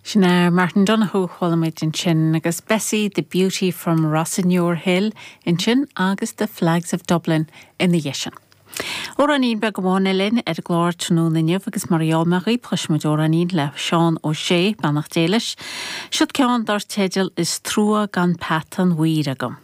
Sin é Martin Donohoe, chuala muid ansin, agus Bessie the Beauty from Rossinure Hill ansin agus The Flags of Dublin ina dhiaidh sin. Amhráinín beag amháin eile ar an gclár tráthnóna inniu agus mar a gheall mé dhaoibh, cloisfidh muid amhráinín le Seán Ó Sé, beannacht Dé leis. Siod ceann dar teideal Is Trua Gan Peata an Mhaoir Agam.